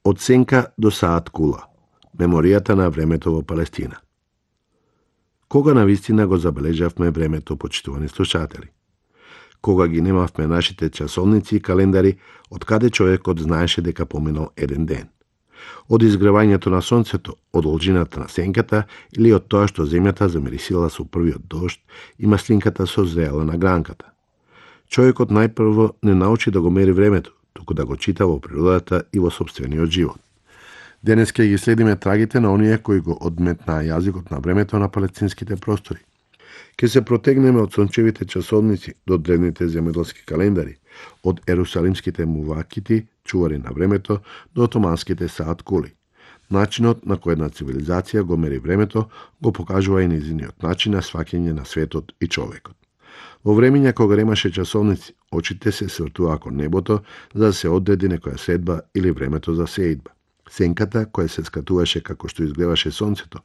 Од сенка до саат кула. Меморијата на времето во Палестина. Кога навистина го забележавме времето, почитувани слушатели? Кога ги немавме нашите часовници и календари, од каде човекот знаеше дека поминал еден ден? Од изгревањето на сонцето, од должината на сенката или од тоа што земјата замирисила со првиот дожд и маслинката созреала на гранката? Човекот најпрво не научи да го мери времето, туку да го чита во природата и во сопствениот живот. Денес ќе ги следиме трагите на оние кои го одметнаа јазикот на времето на палестинските простори. Ке се протегнеме од сончевите часовници до древните земјоделски календари, од ерусалимските мувакити, чувари на времето, до отоманските саат кули. Начинот на кој една цивилизација го мери времето го покажува и нејзиниот начин на сваќање на светот и човекот. Во времења кога немаше часовници, очите се свртуваа кон небото за да се одреди некоја следба или времето за сеидба. Сенката, која се скатуваше како што изгледаше сонцето,